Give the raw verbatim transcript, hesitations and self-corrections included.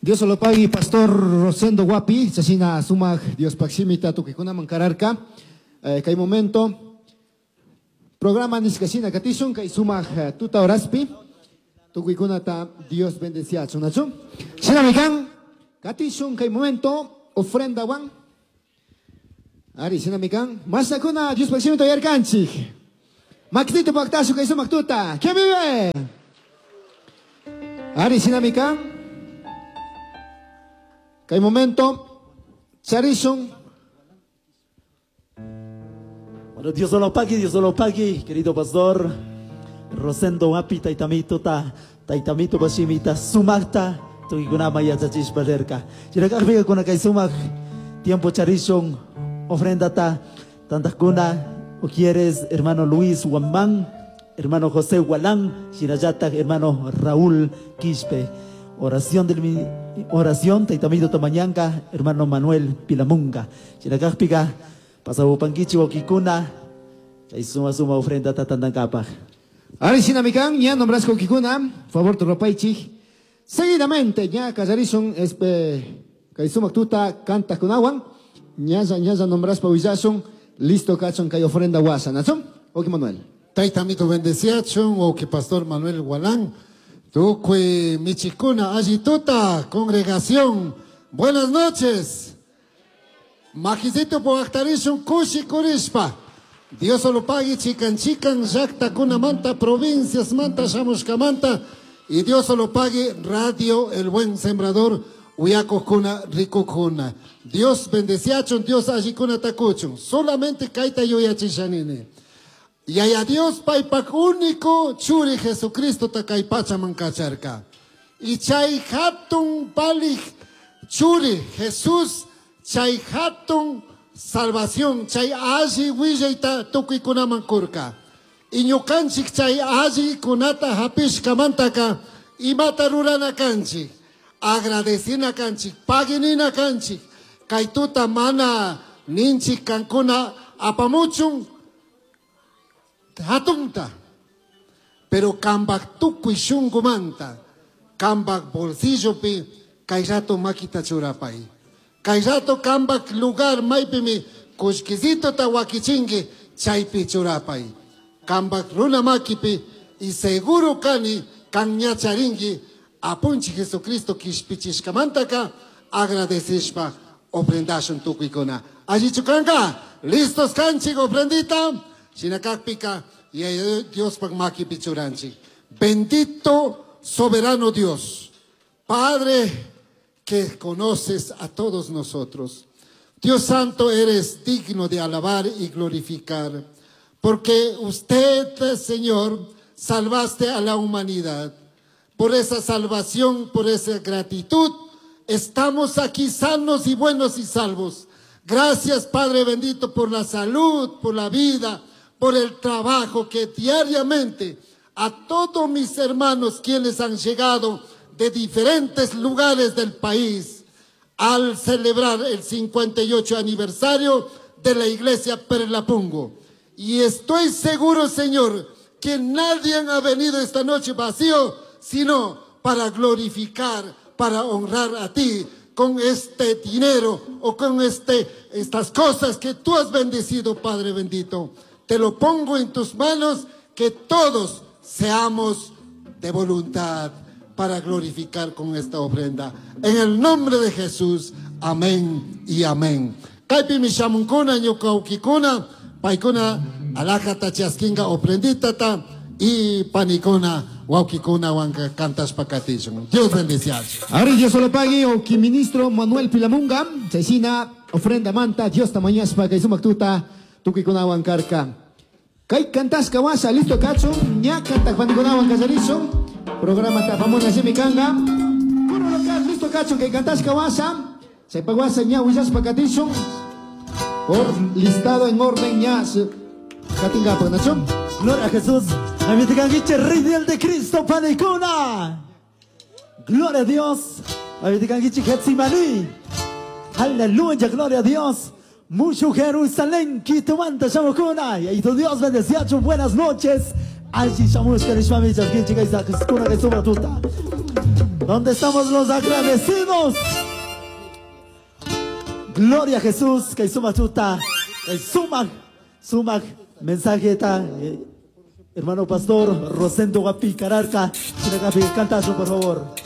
Dios lo pague, Pastor Rosendo Guapi, chashina sumak Dios pakshimita tukikunaman kararka. Eh, kay momento programa nishkashina katishun kay sumak eh, tuta horaspi tukuykunata Dios bendeciachun, nachu? Shinami kan katishun kay momento ofrenda wan. Ari shinami kan masakuna Dios pakshimita yarkanchik. Makitito paktashu kay sumak tuta. ¿Quién vive? Ari shinami kan. Kay momento charishun. Bueno, Dios lo pague, Dios lo pague, querido pastor Rosendo Wapi, taitamito ta, taitamito bashimita, sumakta, tukikunama yachachishpa rirka. Chinakajpika kuna kay sumak, tiempo charishun, ofrenda ta, tantakuna, o quieres, hermano Luis Huamán, hermano José Hualán, shinallata, hermano Raúl Quispe. Oración del mi, oración, taitamito tamañanca, hermano Manuel Pilamunga. Chinakajpika, pasabupankichi wakikuna, chay suma suma ofrenda tatandankapaj. Ari sinamikan, ya nombrasco kikuna, favor turropaichi. Seguidamente, ya kallarishun, espe, kay sumak tuta, canta kunawan, ñalla, ñalla nombraspa huillasun, listo kachon kay ofrenda wasa, ¿nacho? Oki Manuel. Taitamito bendeciachon, oki Pastor Manuel Gualán, tukui michikuna, allituta, congregación, buenas noches. Majisito poactarishun kushi kurishpa. Dios lo pague chican chican, llakta kunamanta, provincias manta, shamushkamanta, y Dios lo pague Radio El Buen Sembrador, uyakokuna, rikukuna. Dios bendeciachun, Dios allikuna takuchun. Solamente kaita yuyachishanini. Y a Dios paypak único churi Jesucristo takay pachaman kacharka. Y chay hatun palij churi Jesús, chay hatun salvación, chay alli willayta tukuykunaman kurka. Y ñukanchik chay alli kunata hapishkamantaka imata rurana kanchik, agradecina kanchik, paginina kanchik, kay tuta mana ninchik kankuna apamuchun hatunta, pero kambak tukuy shunkumanta, kambak bolsillopi kay rato makita churapay. Kay rato kambak lugar maypimi kullkisito ta wakichinki chaypi churapay. Kambak runa makipi y seguro kani kanñacharinki apunchi Jesucristo kishpichishkamantaka agradecishpa ofrendashun tukuykuna. Allichu kanka, listos kanchik ofrendita, shinakakpika y Dios pak makipi churanchik. Bendito soberano Dios, Padre que conoces a todos nosotros. Dios Santo, eres digno de alabar y glorificar, porque usted, Señor, salvaste a la humanidad. Por esa salvación, por esa gratitud, estamos aquí sanos y buenos y salvos. Gracias, Padre bendito, por la salud, por la vida, por el trabajo que diariamente a todos mis hermanos quienes han llegado de diferentes lugares del país al celebrar el cincuenta y ocho aniversario de la iglesia Perlapungo. Y estoy seguro, Señor, que nadie ha venido esta noche vacío, sino para glorificar, para honrar a ti con este dinero o con este, estas cosas que tú has bendecido, Padre bendito. Te lo pongo en tus manos, que todos seamos de voluntad para glorificar con esta ofrenda. En el nombre de Jesús, amén y amén. Kaypi mishamunkuna, ñukaukikuna, paykuna, alajata chaskinga ofrenditata y panikuna, waukikuna, wanka kantashpa katishun. Dios bendeciacho. Ari Dios lo pague, oki ministro Manuel Pilamunga, chaysina ofrenda manta, Dios tamañaspa, kay sumaktuta, tukikuna wankarka. Kay kantasca wasa, listo kachun, ña kantak panikuna wankasarishun. Programa tapamuna simikanga. Puro local, listo kachun, kay kantasca wasa. Chaypa wasa ña willaspa katishun. Por listado en orden ña katinga pagnacho. Gloria a Jesús. Amitikanguiche, Rey del de Cristo, panikuna. Gloria a Dios. Amitikanguiche, Getsimani. Aleluya, gloria a Dios. Mucho Jerusalén, Quitumanta, Shamukuna. Y tu Dios bendecía, buenas noches. Allí shamushka rishmami chaskinchik kay kuna kay suma tuta. ¿Dónde estamos los agradecidos? Gloria a Jesús, kay sumak tuta, kay sumak, sumak mensaje ta, eh, hermano pastor Rosendo Guapi Cararca, cantazo por favor.